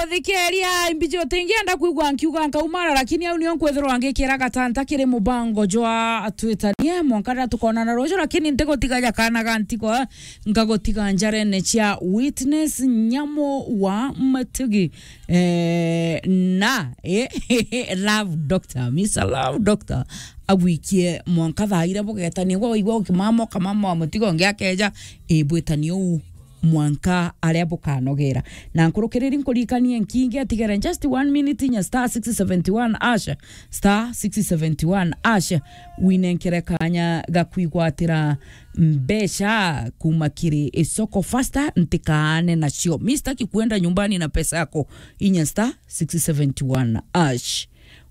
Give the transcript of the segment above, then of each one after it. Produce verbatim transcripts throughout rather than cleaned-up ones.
Thikeria, imbiji utingienda kwigua nkiuga nkaumara, lakini au nio nkwithirwa ngikira gatanta kiri mubango jwa twitanie mwanka riria tukonana ruju, lakini ntigutiga ja kana ga ntigo, nkagutiga njarene cia Witness Nyamu wa Matugi. Eh, na, eh, Love Doctor, Mister Love Doctor, agwikie mwanka thaa iria bugetania, gwa waigua ukimama, ukamama wa mutigo ngi akeja, eh, bwitanie uu mwanka aria bukanogera. Na nkurukiriri nkuririkanie nkingi atigere just one minute, inya star six seventy one hash, star six seventy one hash, winenkere kanya ga kwigwatira mbeca kuma kiri isoko faster, ntikaane nacio. Mi sitaki kuenda nyumbani na pesa yako, inya star six seventy one hash.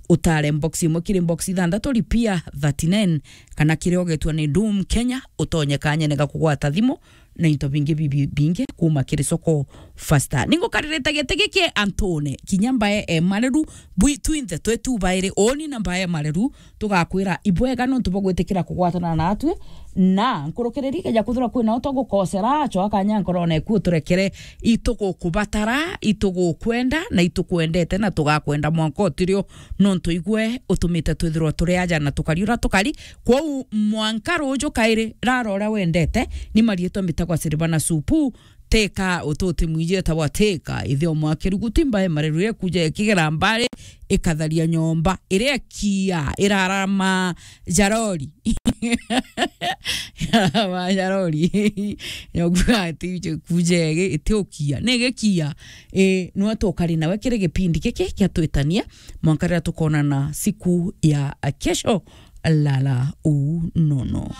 Utare box imwe kiri box ithanthatu, lipia thirty nine, kana kiria ugetwa ni Doom Kenya, utonye kanyene ga kugwata thimu na into bingi bibi-, bingi kuma kiri soko faster. Ningukaririte giti giki antune, kinya mbae e mareru, bwi twinthe twetu bairi, uni na mbae e mareru, tugakwira ibwega nontu bwa gwitikira kugwatana natwi, na nkurukiriri ikeja kwithirwa kwina utogukosera, coa kanya nkorone eku uturekere, itugukubatara, itugukwenda, na itukwendete, na tugakwenda mwanka utirio, nontu igwe utumite twithirwa turi aja na tukari uria tukari. Kwou mwanka ruju kairi, rara uria wendete, ni marietwa mbitagwa Silvana Supu, Teka ututi mwiji etagwa Teka, ithe omwe wa Kiruguti, mbae mareru ikuja ikigera mbari, ikatharia nyomba, iria ikia, irarama jarori. Irarama jarori. Nyongu ati uje kuje igi-, iti ukia. Ni gikia. E, nwe tukari nawe kiri gipindi giki kia twitania, mwanka riria tukonana siku ya kesho, lala unono.